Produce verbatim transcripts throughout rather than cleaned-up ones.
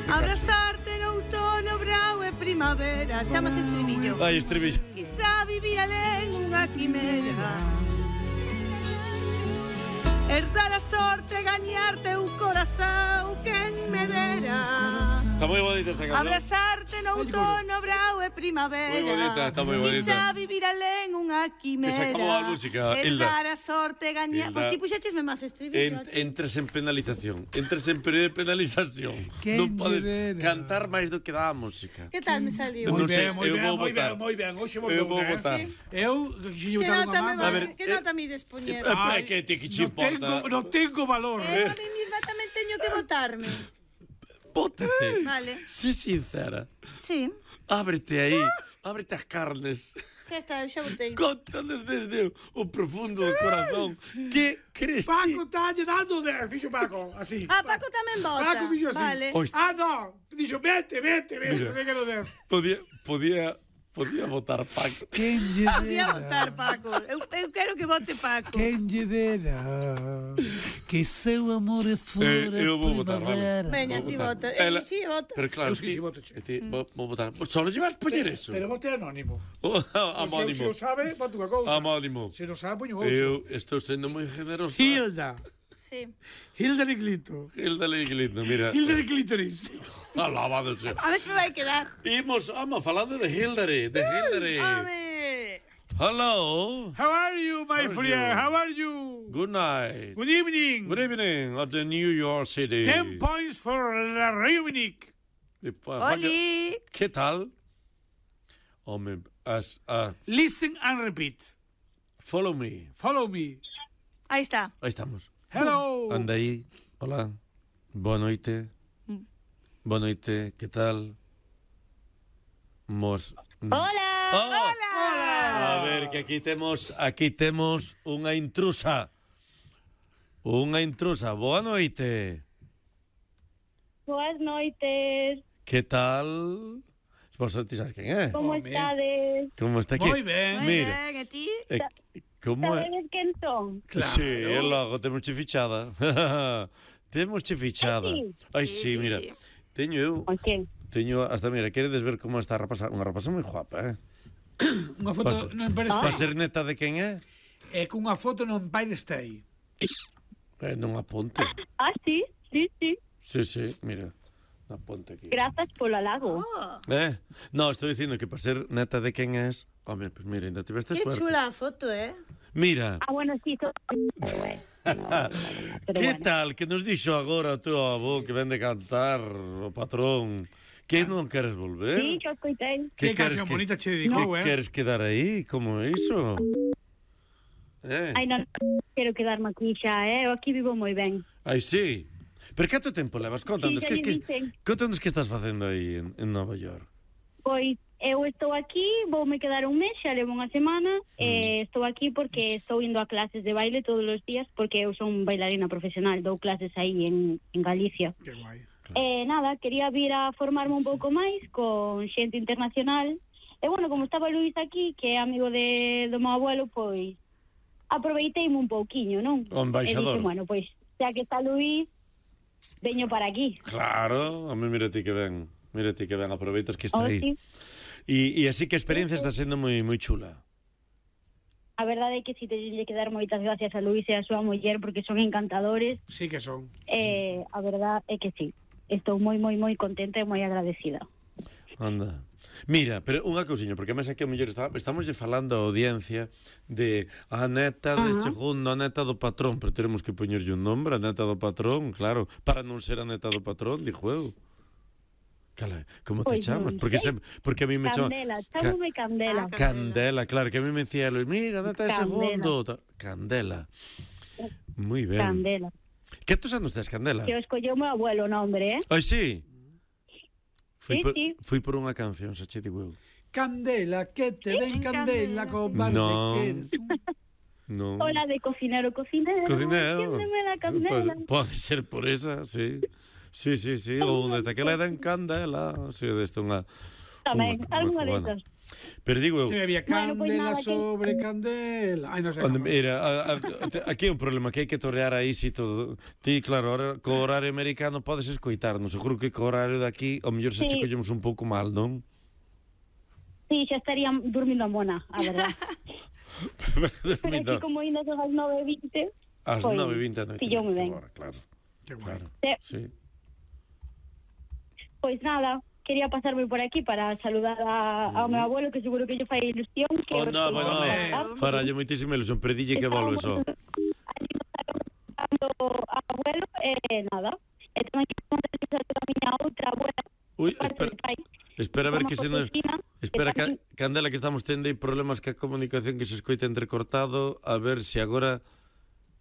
Abrazarte no outono, brao e primavera. Chámase estribillo. Ai, estribillo. Quizá vivir alén unha quimera. Herdar a sorte, gañarte un corazón, quen me dera. Está moi bonita esta canción. Abrazarte no outono, brao e primavera. Moi bonita, está moi bonita. Quizá vivir alén unha quimera. Que se acabou a música, Hilda. Herdar a sorte, gañar... Pois ti puxéchesme máis estribillo. En, entres en penalización. Entres en período de penalización. Non podes cantar máis do que dá a música. Que tal me saliu? Non sei, moi eu ben, vou moi votar. ben, moi ben. Hoxe vou Eu vou votar. votar. Eu, Que que botar nota unha me mama. va- que nota me dispoñer? É que ti que che Non tengo, importa. non tengo valor. Eu a mí misma tamén teño que votarme. Bótate. Vale. Sé sincera. Sí. Ábrete aí. Ábrete as carnes. Que está, eu xa votei. Contanos desde o profundo do corazón. Que crees ti? Paco talle dando de fixo Paco, así. Ah, Paco tamén vota. Paco fixo así. Vale. Ois, Ah, no. Dixo, vete, vete, vete, Mira. que quero der. podía, podía, podía votar Paco. Quen lle Podía dera, votar Paco. Eu, eu quero que vote Paco. quen lle dera, que seu amor é fora Eh, eu vou votar, vale. primavera. Veña, Vou ti votar. vota. Ela- Eh, sí, vota. Pero claro, Eu sí, ti, sí, voto, che. e ti vou, vou votar. Solo lle vas poñer eso. Pero vote anónimo. Oh, Porque eu, se Amónimo. o sabe, voto unha cousa. Amónimo. Se non sabe, poño outro. Eu estou sendo moi generoso. Hilda. Sí. Hilda de Glito. Hilda Liglindo, mira. Hilda de Clítoris. Alabado sea. A ver se me vai quedar. Imos, ama, falando de Hildary, de Hildary. Home. Hello. How are you, my How are friend? you? How are you? Good night. Good evening. Good evening at the New York City. Ten points for la Reunic. Oli. ¿Qué tal? Home, as, uh, Listen and repeat. follow me. Follow me. Aí está. Aí estamos. Hello. Anda aí. Hola. Boa noite. Boa noite. Que tal? Mos... Hola. Oh, Hola. a ver, que aquí temos aquí temos unha intrusa. Unha intrusa. Boa noite. Boas noites. Que tal? Vos ti sabes quen é? Como Home. estades? Como está aquí? Moi ben. Moi Mira. ben, e ti? Eh, como é? Sabedes quen son? Claro. Sí, e logo temos che fichada. temos che fichada. Ah, sí? Ai, Sí, sí, sí, mira. sí. Teño eu, O quen? teño hasta mira, queredes ver como está a rapaza, unha rapaza moi guapa, eh? Unha foto Pasa- no Empire Para State. ser neta de quen é? É cunha foto no Empire State. Eh, non aponte. Ah, sí, sí, sí. Sí, sí, mira. Na ponte aquí. Grazas polo halago. Oh, Eh? No, estou dicindo que para ser neta de quen és, home, pois pues mira, ainda tiveste que suerte. chula a foto, eh? Mira, Ah, bueno, sí, so... Pero que bueno. tal que nos dixo agora o teu avó que vende cantar o patrón que non queres volver? Sí, que os coitei. Que queres canción que- bonita che Que dedicou, eh? queres quedar aí? Como é iso? Eh? Ai, non quero quedarme aquí xa, eh? Eu aquí vivo moi ben. Ai, sí. Pero canto tempo levas? Contanos, Sí, que, xa que, lle dicen. contanos que estás facendo aí en, en Nova York. Pois eu estou aquí, voume quedar un mes, xa levo unha semana, Mm. e estou aquí porque estou indo a clases de baile todos os días, porque eu son bailarina profesional, dou clases aí en, en Galicia. Que guai. E nada, quería vir a formarme un pouco máis con xente internacional. E bueno, como estaba Luís aquí, que é amigo de, do meu abuelo, pois aproveiteime un pouquiño, non? O embaixador. E dixen, bueno, pois xa que está Luís, veño para aquí. Claro, a mí mira ti que ven. Mira ti que ven, aproveitas que está Oh, aí. sí. E, e así que a experiencia está sendo moi moi chula. A verdade é que si teño que dar moitas gracias a Luís e a súa muller porque son encantadores. Sí que son. E a verdade é que sí. Estou moi, moi, moi contenta e moi agradecida. Anda. Mira, pero unha cousiña, porque a mesa que o mellor está, estamos lle falando a audiencia de a neta de Ajá. segundo, a neta do patrón, pero teremos que poñerlle un nombre, a neta do patrón, claro, para non ser a neta do patrón, dixo eu. Cala, como te Pois chamas? non Porque sei. sempre, porque a mí me chama Candela, chámome Candela. Ah, Candela, claro, que a mí me decía Luis, mira, neta de Candela. segundo, ta- Candela. Muy ben. Candela. Que tos anos tes, Candela? Que o escolleu meu abuelo o nombre, eh? Ai, sí. Fui Sí, por, sí. fui por unha canción, xa che digo eu. Candela, que te den candela, Candela. cobarde No. que eres un... Non. Hola de cocinero, cocinero. Cocinero. Enciéndeme la candela. Pues, pode ser por esa, sí. Sí, sí, sí. Ou desde que le den candela. Sí, deste unha... Tamén, unha- algunha unha cubana. desas. Pero digo eu, Que bebía Bueno, pois candela nada, que- sobre candela. Ai, non sei. onde, como. mira, a, a, te- aquí hai un problema que hai que torrear aí si todo. Ti, claro, ahora co horario americano podes escoitarnos. Seguro que co horario de aquí ao mellor se Sí. che collemos un pouco mal, non? Sí, xa estaría dormindo a mona, a verdad. Pero así como indo son as nove e vinte. Ás pois, nove e vinte da noite. pilloume ben. Agora, claro, Que guai. claro. Sí. Sí. Pois nada, quería pasarme por aquí para saludar a, ao meu abuelo, que seguro que lle fai ilusión. Que Oh, no, porque- bueno, Hombre. faralle moitísima ilusión, pero dille que volve só. Ao abuelo, e nada. E tamén que saludar a miña outra abuela, Ui, parte espera, do pai. espera a ver Como que se nos... Josefina, Espera, que ca, tamén- Candela, que estamos tendo aí problemas ca comunicación que se escoita entrecortado. A ver se agora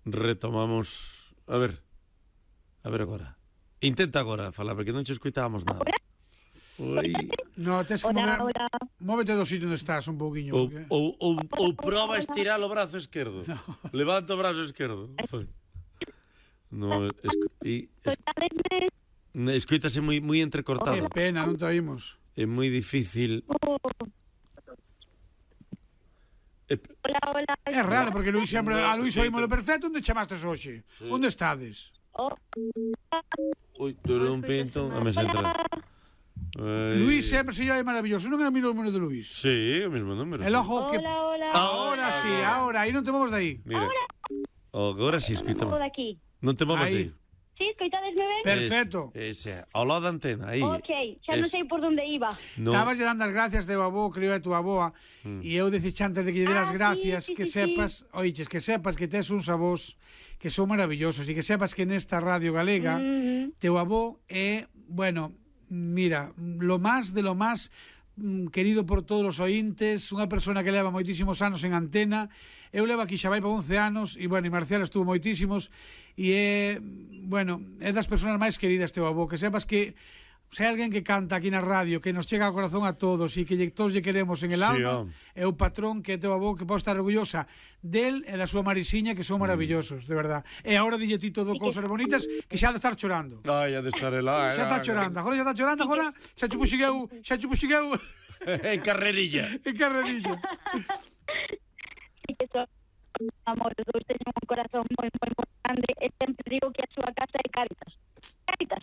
retomamos... A ver. A ver agora. Intenta agora falar, porque non che escoitábamos nada. Ui. No, tes que Hola, mover... hola. Móvete do sitio onde estás un pouquiño. Ou, porque- ou, ou, ou proba a estirar o brazo esquerdo. Levanta o brazo esquerdo. Foi. No, esco, e, es, Escoitadesme? escoítase moi, moi Que entrecortado. pena, non te oímos. É moi difícil. Oh, É, hola, hola. É raro, porque Luís sempre... A Luís Sí, oímolo pero- perfecto. Onde chamastes hoxe? Onde estades? Oh, ui, durou un pinto. A me entra. Ai. Luís sempre se llama maravilloso. Non é o mesmo número de Luís. Sí, o mesmo número. El sí. ojo que... hola, hola. Ahora sí, ahora. Aí non te movas de aí. Mira. Agora si, escoitamos. Todo aquí. Non te movas Aí. de aí. Sí, escoitadesme ben? Perfecto. Ese, ao lado da antena, aí. Ok, xa non Es- sei por onde iba. No. Estabas lle dando as gracias teu avó, creo é tu aboa, e eu dicía antes de que lle Ah, deras sí, gracias sí, que sí, sepas, oiches, que sepas que tes uns avós que son maravillosos e que sepas que nesta radio galega Mhm. teu avó é, bueno, mira, lo más de lo más mm, querido por todos os ointes, unha persona que leva moitísimos anos en antena. Eu levo aquí xa vai para once anos e, bueno, e Marcial estuvo moitísimos e é, bueno, é das persoas máis queridas teu avó, que sepas que se hai alguén que canta aquí na radio que nos chega ao corazón a todos e que lle, todos lle queremos en el Sí, alma, home. é o patrón que é teu avó, que pode estar orgullosa del e da súa Marisiña, que son maravillosos, de verdad. E agora dille ti todo cousas bonitas que xa ha de estar chorando. Ai, ha de estar lá. Xa está chorando, agora xa está chorando, agora xa chupo xigueu, xa chupo xigueu En carrerilla. en carrerilla. Sí que son amor, os dous teñen un corazón moi, moi, moi grande e sempre digo que a súa casa é Cáritas. Cáritas.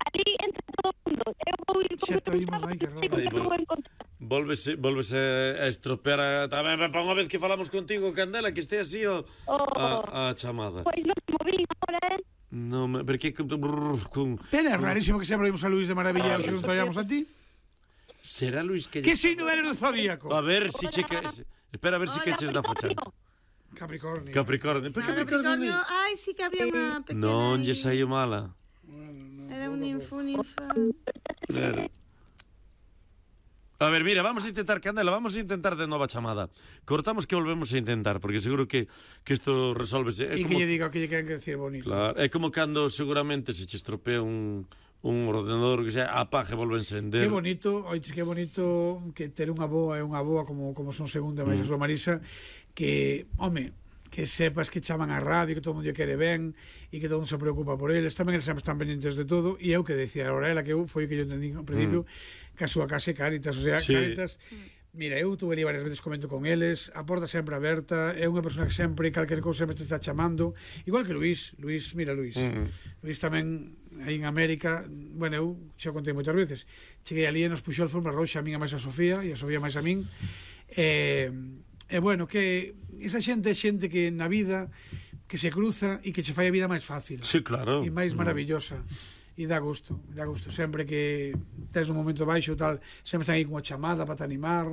Ali entra todo o mundo. Eu vou ir Xa te oímos, ai, que raro. Aí, vou bueno. encontrar. Volvese, volvese a estropear a... Tamén para unha vez que falamos contigo, Candela, que este así o, Oh. a, a chamada. Pois non se movín agora, eh? No, me- porque que- brrr, con... Pena, é rarísimo que sempre oímos a Luís de Maravilla e hoxe non te ollamos a ti. Será Luis que... Que signo eres do zodíaco? A ver si che que... Espera a ver si Hola, que eches da focha. Capricornio. Capricornio. ¿Por Ah, Capricornio, ai, sí que había unha pequena... Non lle aí. saiu mala. Era un info, un info. Pero... A ver, mira, vamos a intentar, Candela, vamos a intentar de nova chamada. Cortamos que volvemos a intentar, porque seguro que que isto resolvese. É E como, que lle diga o que lle queren que decir bonito. claro, é como cando seguramente se che estropea un, un ordenador que xa apague e volve a encender. Que bonito, oiches, que bonito que ter unha boa e unha boa como como son segunda máis a súa Marisa, que, home, que sepas que chaman a radio, que todo mundo lle quere ben e que todo mundo se preocupa por eles, tamén eles sempre están pendientes de todo, e eu que decía agora ela que eu foi o que eu entendí ao principio, que a súa casa é Cáritas, o sea, Sí. Cáritas. Mira, eu tuve ali varias veces, comento con eles, a porta sempre aberta, é unha persona que sempre, calquer cousa sempre te está chamando, igual que Luís, Luís, mira Luís, Mm. Luís tamén aí en América, bueno, eu xa contei moitas veces, cheguei ali e nos puxou a alfombra roxa a min e máis a Sofía, e a Sofía máis a min, e, e bueno, que esa xente é xente que na vida que se cruza e que che fai a vida máis fácil Sí, claro. e máis maravillosa. E dá gusto, dá gusto. Sempre que tes un momento baixo tal, sempre están aí con a chamada para te animar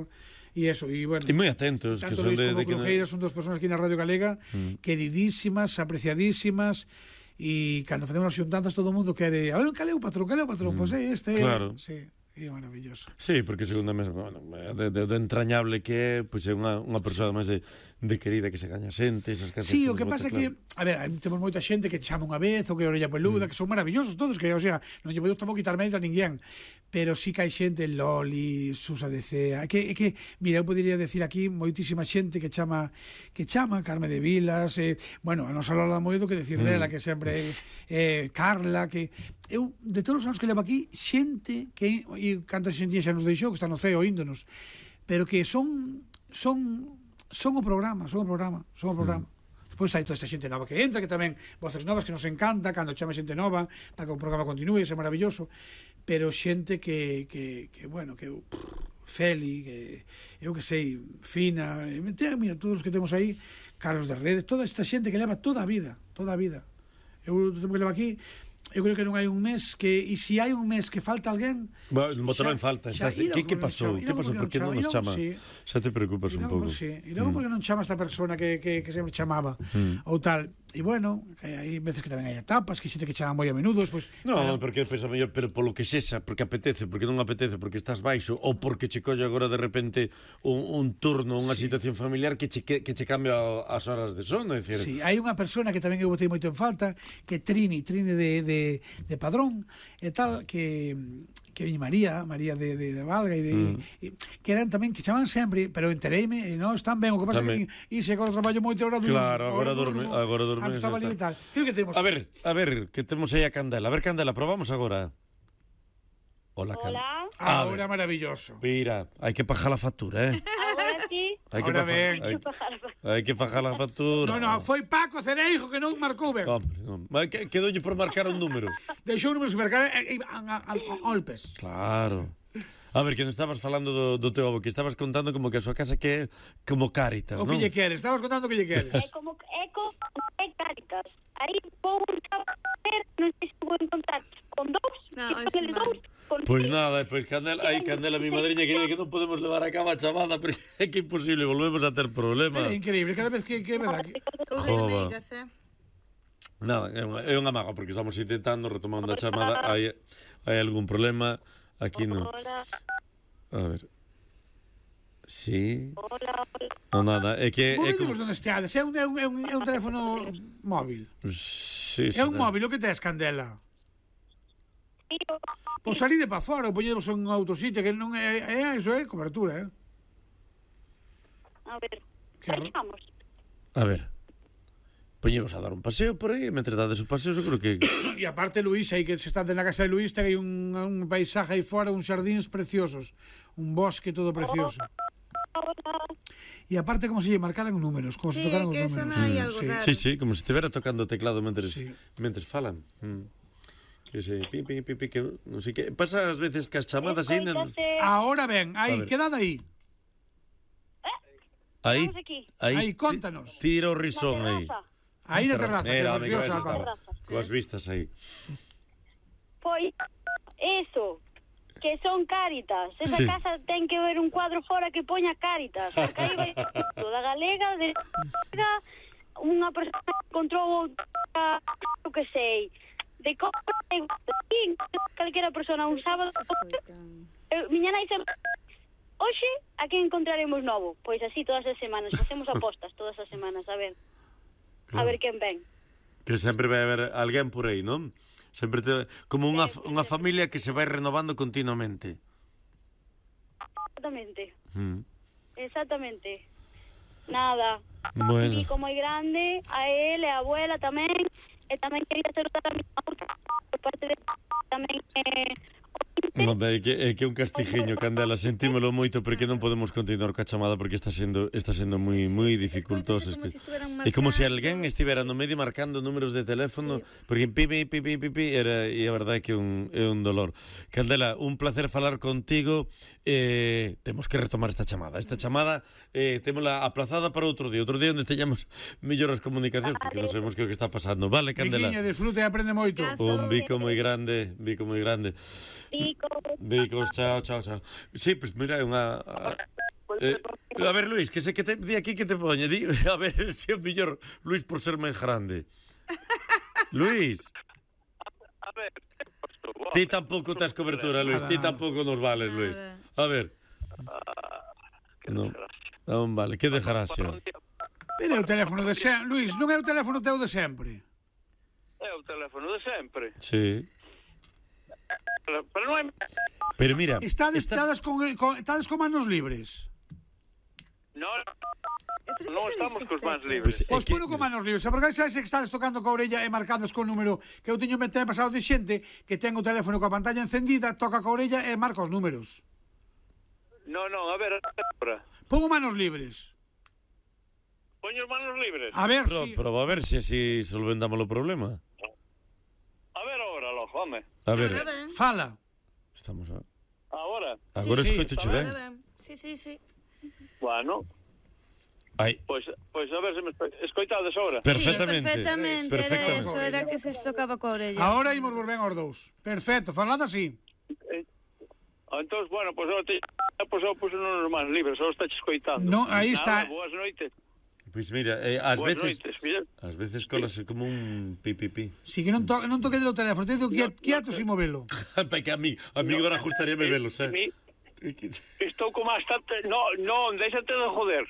e eso, e bueno. E moi atentos, que Tanto son Luís de, como de que... Crujeira son dos personas aquí na Radio Galega Mm. queridísimas, apreciadísimas, e cando facemos as xuntanzas todo o mundo quere, a ver, cal é o patrón, cal é o patrón? Pois pues é este, Claro. sí, é maravilloso. Sí, porque segundo mes, bueno, de, de, de entrañable que é, pois é unha, unha persoa máis de, de querida que se gaña xente, esas casas. Sí, o que pasa é que, a ver, hai- temos moita xente que te chama unha vez, ou que orella peluda, que son maravillosos todos, que, o sea, non lle podemos tampouco quitar mérito a ninguén, pero sí que hai xente, Loli, Susa de Cea, que, que, mira, eu podería decir aquí moitísima xente que chama, que chama, Carme de Vilas, eh, bueno, a nosa Lola Moedo, que decir dela, que sempre, eh, Carla, que, eu, de todos os anos que levo aquí, xente que, e canta xente xa nos deixou, que está no ceo, índonos, pero que son son son o programa, son o programa, son o programa. Mm. Pois hai toda esta xente nova que entra, que tamén voces novas que nos encanta, cando chama xente nova, para que o programa continúe, é maravilloso, pero xente que, que, que bueno, que Feli, que eu que sei, Fina, mira, todos os que temos aí, Carlos de Redes, toda esta xente que leva toda a vida, toda a vida. Eu que levo aquí, eu creo que non hai un mes que, e se hai un mes que falta alguén, bueno, xa, en falta. Xa, que, que pasou? Que pasou? Por que non nos chama? Sí. Xa te preocupas un pouco. Sí. E logo, mm. porque non chama esta persona que, que, que sempre chamaba, mm. ou tal. E bueno, que hai veces que tamén hai etapas, que xente que chama moi a menudo, despois... No, para... porque pensa mellor, pero polo que sexa, porque apetece, porque non apetece, porque estás baixo, ou porque che colle agora de repente un, un turno, unha sí. situación familiar que che, que, que che cambia as horas de sono, é dicir... Sí, hai unha persona que tamén eu botei moito en falta, que Trini, Trini de, de, de Padrón, e tal, que... que viñe María, María de, de, de Valga e de, mm. e, que eran tamén que chaman sempre, pero entereime e non están ben, o que pasa tamén. Que e se agora traballo moito agora durmo. Claro, agora dorme, agora dorme. Antes estaba libre e tal. Que que temos? A ver, a ver, que temos aí a Candela. A ver, Candela, probamos agora. Hola, Candela. Hola. Ahora maravilloso. Mira, hai que pagar a factura, eh? Agora sí. Hai que Ahora ben. Hai, hai que pagar a factura. No, no, foi Paco Cereijo que non marcou ben. Hombre, non. Que, quedoulle por marcar un número. Deixou números de marcar e golpes. Claro. A ver, que non estabas falando do, do teu avó, que estabas contando como que a súa casa que é como Cáritas, non? O que lle queres, estabas contando o que lle queres. É como, é como é Cáritas. Aí vou un chaval, non sei se vou encontrar con dous, no, e con eles dous. Pois pues nada, pois pues Candela, ai Candela, mi madriña querida, que non podemos levar a cabo a chamada, porque é que imposible, volvemos a ter problemas. É increíble, cada vez que, que verdad. Jova. Nada, é unha, é unha maga, porque estamos intentando retomando a chamada, hai, hai algún problema, aquí non. A ver. Sí. Non nada, é que... Vos é como... como... onde esteades, é un, é, un, é, un, é un teléfono móvil. Sí, é un móvil, o que tes, Candela? Pois salide para fora, ou poñedevos en un autositio, que non é, é iso, é cobertura, eh? A ver, que aí vamos. A ver, poñemos a dar un paseo por aí, mentre dades o paseo, seguro que... E aparte, Luís, aí que se está na casa de Luís, ten aí un, un paisaje aí fora, uns xardíns preciosos, un bosque todo precioso. E aparte, como se lle marcaran números, como sí, se tocaran os números. Sí, algo sí. raro. sí, sí, como se estivera tocando o teclado mentres, sí. mentres falan. Mm. Que sei, pi, pi, pi, pi, que non sei que... Pasa ás veces que as chamadas aí... Ahora ben, aí, quedad aí. Aí, aí, aí, contanos. Tira o risón aí. Aí na terraza, que Era, preciosa. Coas vistas aí. Pois, eso, que son Cáritas. Esa Sí. casa ten que ver un cuadro fora que poña Cáritas. Porque aí vai todo, da galega, de unha persona que encontrou outra, o que sei, de como calquera persona un sábado. Eu, miña nai sempre... Hoxe, a que encontraremos novo? Pois así todas as semanas, facemos apostas todas as semanas, a ver. A ver quen ven. Que sempre vai haber alguén por aí, non? Sempre te... como unha, unha familia que se vai renovando continuamente. Exactamente. Mm. Exactamente. Nada. Bueno. E como é grande, a ele, a abuela tamén, e tamén quería saludar a mi outra por parte de tamén eh, No, é que é que un castigiño, Candela, sentímolo moito porque non podemos continuar coa chamada porque está sendo está sendo moi moi dificultoso. É como se estuvieran É como se alguén estivera no medio marcando números de teléfono, sí. Porque pipi pipi pipi era e a verdade é que é un é un dolor. Candela, un placer falar contigo. Eh, temos que retomar esta chamada. Esta chamada eh témola aplazada para outro día, outro día onde teñamos mellores comunicacións porque non sabemos que é o que está pasando. Vale, Candela. Viquiña, disfrute e aprende moito. Un bico moi grande, bico moi grande. Bicos. Bicos, chao, chao, chao. Sí, pois pues mira, é unha... Eh, a ver, Luís, que sei que te di aquí que te poñe. Di, a ver, se é o mellor Luís por ser máis grande. Luís. A ver, ti tampouco tes cobertura, Luís. Ti tampouco nos vales, Luís. A ver. Non, non vale. Que dejarás, xa? Pero é o teléfono de sempre. Luís, non é o teléfono teu de sempre. É o teléfono de sempre. Sí. Pero non é... Pero mira... Estades, esta... estades, con, con, estades con manos libres. Non, non estamos cos mans libres. Pois pois que... con manos libres. Porque sabes que estades tocando coa orella e marcadas con número que eu teño mete pasado de xente que ten o teléfono coa pantalla encendida, toca coa orella e marca os números. No, no, a ver, ahora. Pongo manos libres. Poño as manos libres. A ver Pero, si... pero a ver se así solventamos o problema. A ver ahora, lojo, home. A ver, Ahora ben. Fala. estamos a... Ahora. Agora sí, escoitoche Ahora ben. ben. Sí, sí, sí. Bueno, Ai, pois, pois a ver se me esco- escoitades ahora. perfectamente. Sí, perfectamente. Era Perfectamente. eso, era que se tocaba coa orella. Ahora imos volver aos dous. Perfecto, falad así. Ah, entón, bueno, pois ahora te... Pois eu puse nos máis libres, ahora está escoitando. No, aí está. Nada, boas noites. Pois mira, eh, ás Boas veces noites, mira. ás veces colase como un pipipi. Si que non, to non toque o teléfono, teño que quieto sin movelo. Pai que a mí, a mí agora gustaríame velos, eh. Mi, estou como bastante... No, non, déxate de joder.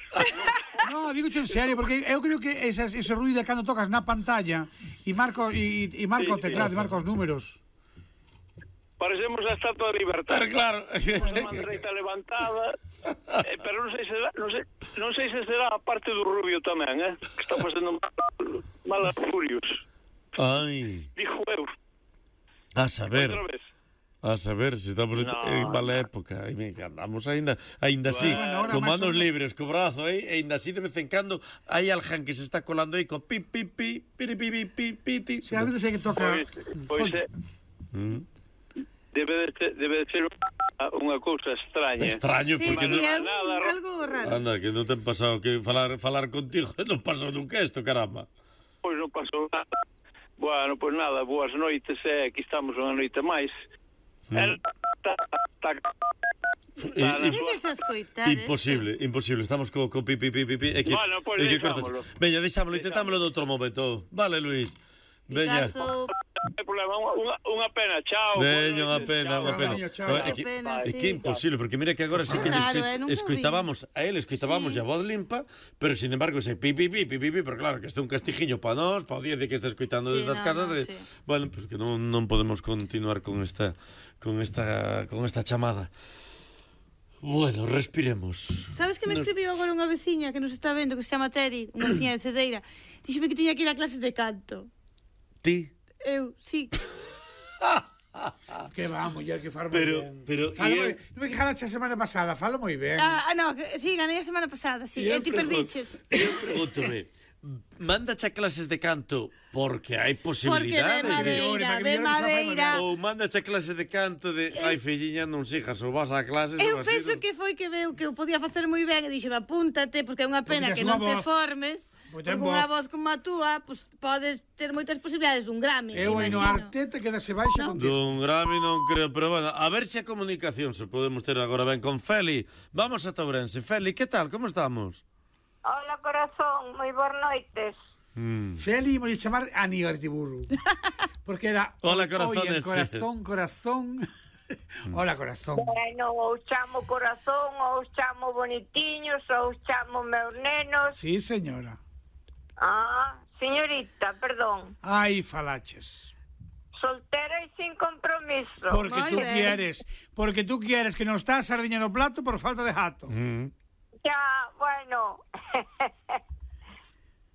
No, digo en serio, porque eu creo que ese, ese ruido cando tocas na pantalla e marco e, e marco o Sí, teclado, sí. e marco os números. Parecemos a Estatua de Libertad. Pero claro. Unha dereita levantada, eh, pero non sei se será, non sei, non sei se será a parte do Rubio tamén, eh, que está facendo mal, malas furios. Ai, Dijo eu, a saber. outra vez. A saber, se estamos en, No, en mala no. época. Ai, me andamos aínda, aínda así, Bueno, ahora con máis manos ou menos- libres, co brazo aí, e aínda así de vez en cando hai alguén que se está colando aí con pi, pi, pi, pi, pi, pi, pi, pi, pi. Si a veces hai que toca... Pois, pois eh, Mm. debe, de ser, debe de ser unha, unha cousa extraña. Extraño, Sí, porque sí, non... é un- nada, ro- algo raro. Anda, que non te han pasado que falar falar contigo non pasou nunca isto, caramba. Pois non pasou nada. Bueno, pois nada, boas noites, eh, aquí estamos unha noite máis. Mm. El, ta, ta, I- i- Sí que se escoitar. Imposible, imposible. Estamos co, co pi, pi, pi, pi, pi. É que, Bueno, pois é que deixámolo. cortas. Veña, deixámolo, intentámoslo noutro momento. Vale, Luis. Veña. Picazo. non hai problema, unha, unha, unha pena, chao. Veña, unha boas noites, pena, chao. unha pena. Veña, chao. No, é Que que, pena, é sí. que é imposible, porque mira que agora sí que lle Claro, escoit- eh, nunca o vi. escoitábamos a él, escoitábamos a voz limpa, pero sin embargo ese pi, pi, pi, pi, pi, pi, pero claro, que este é un castigiño para nós, para o diez que está escoitando Sí, desde as no, casas, no, de, sí. bueno, pues que non, non podemos continuar con esta con esta con esta chamada. Bueno, respiremos. Sabes que me Nos- escribiu agora unha veciña que nos está vendo, que se chama Teri, unha veciña de Cedeira. Díxeme que tiña que ir a clases de canto. Ti Eu, sí. Que va, muller, que fala moi Pero- ben. pero, Fala e moi eu- ben. Non me quejaras a semana pasada, falo moi ben. Ah, ah, no, que- sí, ganei a semana pasada, sí. E eu E ti pregun- perdiches. Eu pregúntome, mándache a clases de canto porque hai Porque posibilidades de de... madeira, para que de mellore que xa fai madeira. Ou mándache a clase de canto de ai filliña non sijas ou vas a clases Eu ou así. penso non- que foi que veu que eu podía facer moi ben e dixeme apúntate porque é unha pena tes que unha non te voz. formes. Pois Porque ten unha voz. voz como a túa, pues, podes ter moitas posibilidades dun Grammy. Eu aí no imagino. Arteta quedase baixa No. contigo. Dun Grammy non creo, pero bueno, a ver se a comunicación se podemos ter agora ben con Feli. Vamos a Tourense. Feli, que tal? Como estamos? Hola, corazón, moi boas noites. Mm. Feli imos chamar Aníbal Tiburro. Porque era... Hola, corazones. Oye, corazón, corazón. Hola, corazón. Bueno, ou chamo corazón, ou chamo bonitiños, ou chamo meus nenos. Sí, señora. Ah, señorita, perdón. Ai, falaches. Soltera e sin compromiso. Porque Moi tú ben. quieres, porque tú quieres que non está a sardiña no plato por falta de jato. Mm. Ya, bueno.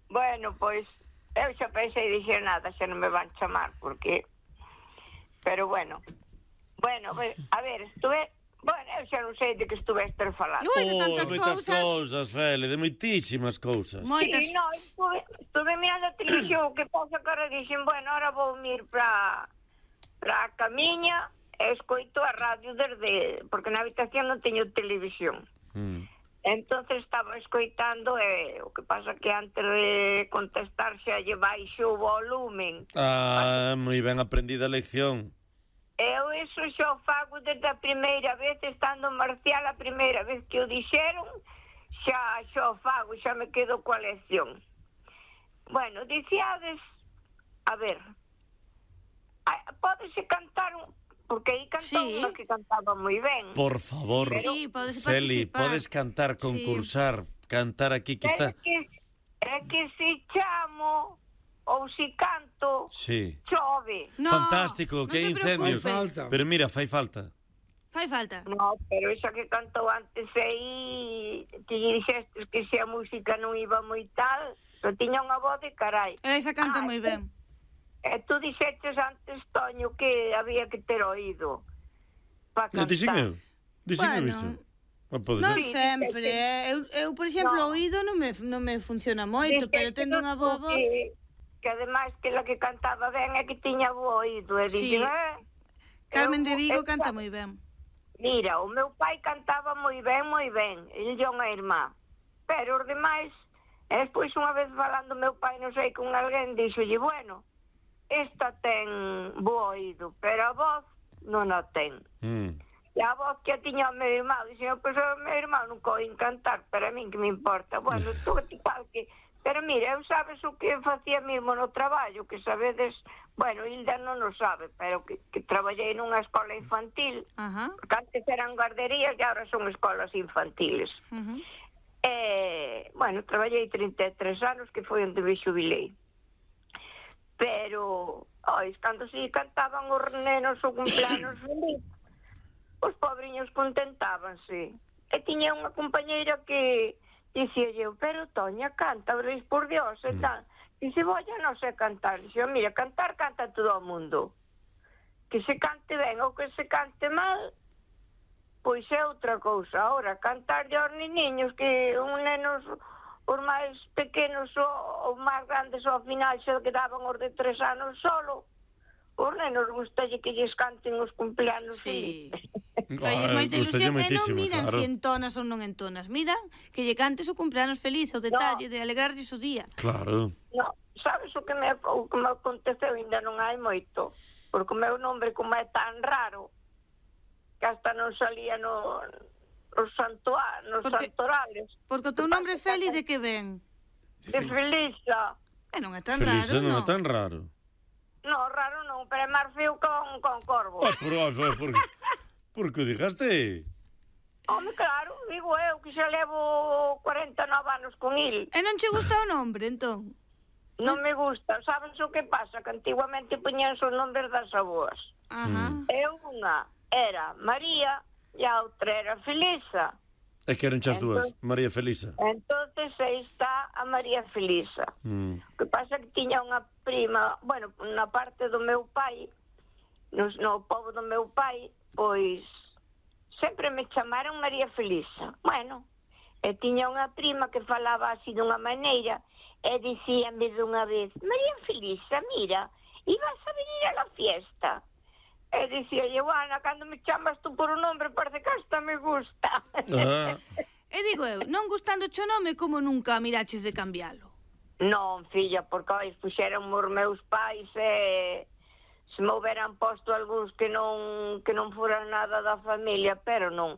Bueno, pois, eu xa pensei dixer nada, xa non me van chamar, porque... Pero bueno. Bueno, pues, a ver, estuve... Bueno, eu xa non sei de que estuveste falando. Ui, de Oh, tantas moitas cousas. cousas, Feli, de moitísimas cousas. Moitas. Sí, no, estuve, estuve mirando a televisión, que pasa que ahora dixen, bueno, ahora vou ir para para a camiña e escoito a radio desde... Porque na habitación non teño televisión. Mm. Entonces estaba escoitando e o que pasa que antes de contestar xa lle baixo o volumen. Ah, moi ben aprendida a lección. Eu iso xa o fago desde a primeira vez, estando en Marcial a primeira vez que o dixeron, xa, xa o fago, xa me quedo coa lección. Bueno, dicíades, a ver, a- pódese cantar un... Porque aí cantou Sí. unha que cantaba moi ben. Por favor, Sí, podes Feli, participar. podes cantar, concursar, cantar aquí que É está... que, é que se chamo ou se canto, Sí. chove. No, Fantástico, non que te incendio. preocupes. Fai falta. Pero mira, fai falta. Fai falta. No, pero esa que cantou antes aí, que lle dixestes que se a música non iba moi tal, pero tiña unha voz de carai. Esa canta Ah, moi ben. E tú dixeches antes, Toño, que había que ter oído para Non cantar. dixen eu. Dixen eu Bueno, iso. Pode Non ser. sempre, eh. eu, eu, por exemplo, o No. oído non me, non me funciona moito, Dice pero que tendo non unha boa voz... que, que ademais que la que cantaba ben é que tiña bo oído. E Sí. dixen, eh, Carmen eu- de Vigo eu- canta moi ben. Mira, o meu pai cantaba moi ben, moi ben, ele e unha irmá. Pero os demais, e despois unha vez falando meu pai, non sei, con alguén, dixolle, bueno, esta ten bo oído, pero a voz non a ten. Mm. E a voz que a tiña o meu irmão, dixen, pois o meu irmão non coin cantar, pero a min que me importa. Bueno, tú igual que... Pero mira, eu sabes o que facía mesmo no traballo, que sabedes, bueno, Hilda non o sabe, pero que, que traballei nunha escola infantil, Ajá. porque antes eran guarderías e agora son escolas infantiles. Uh -huh. E, bueno, traballei trinta e tres anos, que foi onde me xubilei. Pero, ois, cando se cantaban os nenos o cumpleanos feliz, os pobriños contentábanse. E tiña unha compañeira que dicía eu, pero Toña, canta, veréis por Dios, e tal. Dice, voya, non sei cantar. Dice, mira, cantar canta todo o mundo. Que se cante ben ou que se cante mal, pois é outra cousa. Ahora, cantar de aos niños, que un nenos, os máis pequenos ou os máis grandes ao final se quedaban os de tres anos solo, os nenos gustalle que lles canten os cumpleanos Sí. felices. Falles Ah, moita gustalle ilusión e non moitísimo, miran claro. se entonas ou non entonas. Miran que lle cantes o cumpleanos feliz, o detalle de alegrarlles o día. Claro. No, sabes o que me, o que me aconteceu? Ainda non hai moito, porque o meu nombre como é tan raro que hasta non salía no, nos, santua, nos Porque- santorales. Porque o teu nombre Feli de que ven? De Felisa. E non é tan Felisa raro, non non? é tan raro. No, raro non, pero é máis feo con, con corvo. Ah, por, ah, por, por, por que o digaste? Home, claro, digo eu que xa levo cuarenta e nove anos con il. E non che gusta o nombre, entón? Non me gusta. Sabes o que pasa? Que antiguamente poñían os nombres das aboas. Ajá. E unha era María e a outra era Felisa. É que eran chas dúas, Entón- María Felisa. Entonces aí está a María Felisa. Mm. O que pasa é que tiña unha prima, bueno, na parte do meu pai, no, no pobo do meu pai, pois sempre me chamaron María Felisa. Bueno, e tiña unha prima que falaba así dunha maneira e dicíame dunha vez, María Felisa, mira, ibas a venir a la fiesta. E dicía eu, Ana, cando me chamas tú por un nombre parece que hasta me gusta. Ah, E digo eu, non gustando o nome, como nunca miraches de cambialo? Non, filla, porque oi, puxeron os meus pais e se me houberan posto algúns que non que non foran nada da familia, pero non.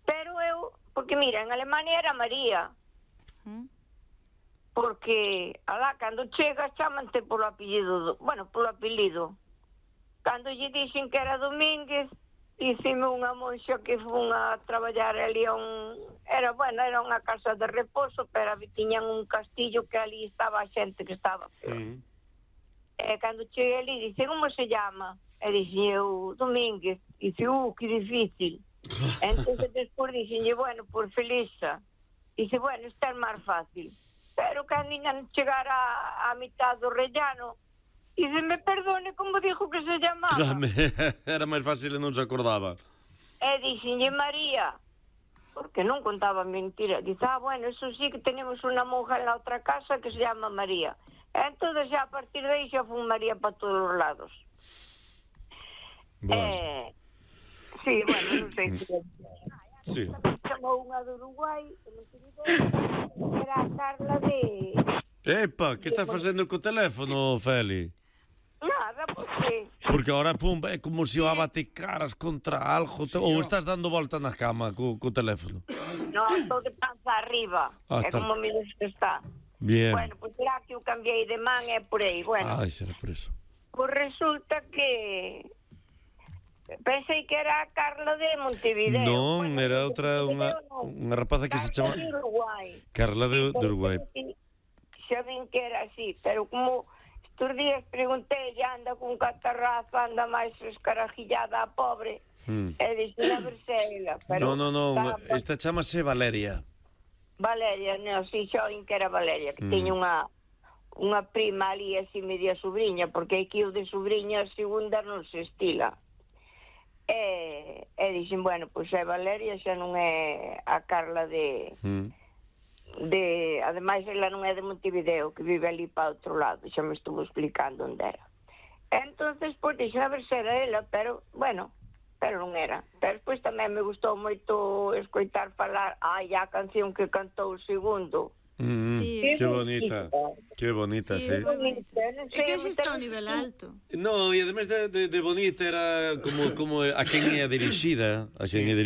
Pero eu, porque mira, en Alemania era María, ¿Mm? porque alá cando chegas chamante polo apellido, do, bueno, polo apelido. Cando lle dixen que era Domínguez, dicime unha monxa que fun a traballar ali a un... Era, bueno, era unha casa de reposo, pero tiñan un castillo que ali estaba a xente que estaba. mm. E cando cheguei ali, dice, como se llama? E dixen eu, Domínguez. Dice, uh, que difícil. Entón, despois dixen, bueno, por Felisa. Dice, bueno, isto é máis fácil. Pero cando ainda non chegara a, a mitad do rellano, dice, me perdone, como dijo que se chamaba? Dame, era máis fácil e non se acordaba. E dixenlle María, porque non contaba mentira. Dice, ah, bueno, eso sí que tenemos unha monja en la outra casa que se llama María. E entón, xa a partir de aí xa fun María para todos os lados. Bueno, Eh, sí, bueno, non sei se... sí. Chamou unha do Uruguai, que non teño idea, era a Carla de... Epa, que estás facendo co teléfono, Feli? Nada, porque... Porque ahora, pum, é como se o abate caras contra algo, te- ou estás dando volta na cama co, co teléfono. Non, estou de panza arriba. Ah, É está. como me dices que está. Bien. Bueno, pois será que eu cambiei de man e por aí. Bueno, Ai, será por eso. pois resulta que... Pensei que era a Carla de Montevideo. Non, Bueno, era de outra, unha, Montevideo non. unha rapaza que se chama Carla de Uruguai. Carla de, de Uruguai. Xa vin que era así, pero como estes días preguntei, ya anda con catarrazo, anda máis escarajillada a pobre, Mm. e dixen a ver se é ela. Pero Non, non, non, está- esta chamase Valeria. Valeria, non, si xa vin que era Valeria, que Mm. teña unha unha prima ali así media sobrinha, porque aquí o de sobrinha segunda non se estila. E, e e dixen, bueno, pois é Valeria, xa non é a Carla de... Mm. de ademais, ela non é de Montevideo, que vive ali para outro lado, xa me estuvo explicando onde era. Entonces, pois, dixen a ver se era ela, pero, bueno, pero non era. Pero despois tamén me gustou moito escoitar falar, ai, a canción que cantou o segundo. Mm, Sí. Qué bonita, qué bonita, sí. Sí, Bonita, non É sei, que a mí está a tamén- nivel alto. No, e además de, de, de bonita era como, como a quen é dirixida, a quen é dirixida.